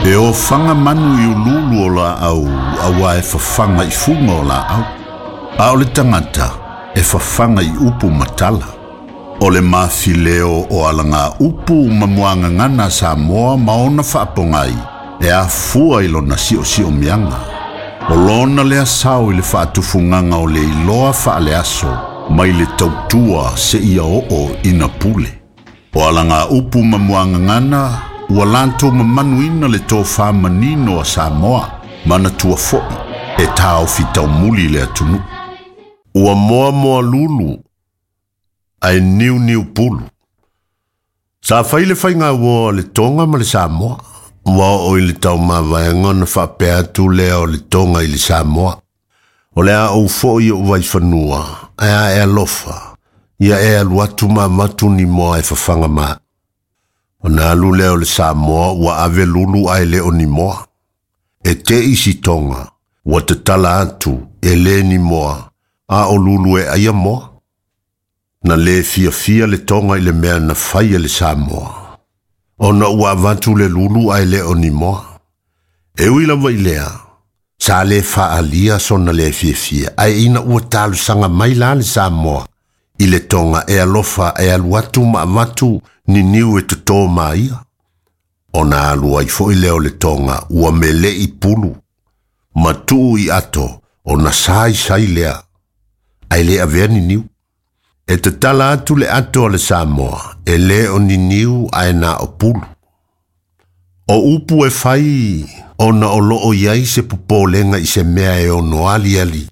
E ofaga manu i uluulu o laau auā e fafaga i fuga o laau, a o le tagata e fafaga i upu ma tala. O le mafileo o alagaupu ma muagagana a Samoa ma ona faapogai e afua i lona siosiomiaga. O lona lea sao i le faatufugaga o le iloa faaleaso mai le tautua seia oo ina pule. O alagaupu ma muagagana ua latou mamanuina le tofa manino a Samoa, manatua foi e taofi taumuli le atunuu. Ua moamoa lulu ae niuniu pulu. Sa fai le faigauoa a le Toga ma le Samoa. Ua oo i le taumavaega ona faapea atu lea o le Toga i le Samoa. O le a ou foi i ou vaifanua, ae a e alofa, ia e alu atu ma avatu ni moa e fafaga ma. Ona alu lea o le Samoa ua ave lulu ae le o ni moa. E te i si Toga, ua tatala atu, e le ni moa, a o lulu e aia moa. Na le fiafia le Toga i le mea na fai e le Samoa, ona ua avatu le lulu ae le o ni moa. E ui lava i lea, sa le faaalia sona le fiafia, ae ina ua talosaga mai la le Samoa i le Toga e alofa e alu atu ma avatu ni niu e totō ma ia. Ona alu ai foi lea o le Toga ua mele'i pulu, ma tuu i ato ona saisai lea, ae le avea ni niu. E tatala atu le ato a le Samoa, e le o ni niu ae na o pulu. O upu e fai ona o loo i ai se popolega i se mea e ono aliali,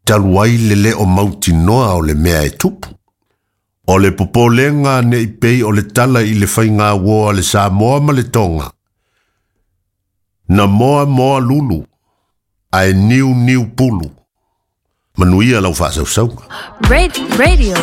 talu ai le le o mautinoa o le mea e tupu. O le popolega ne i pei o le tala i le faigauoa a le Samoa ma le Toga, na moa moa lulu, ae niu niu pulu. Manuia lau faasausauga. Radio.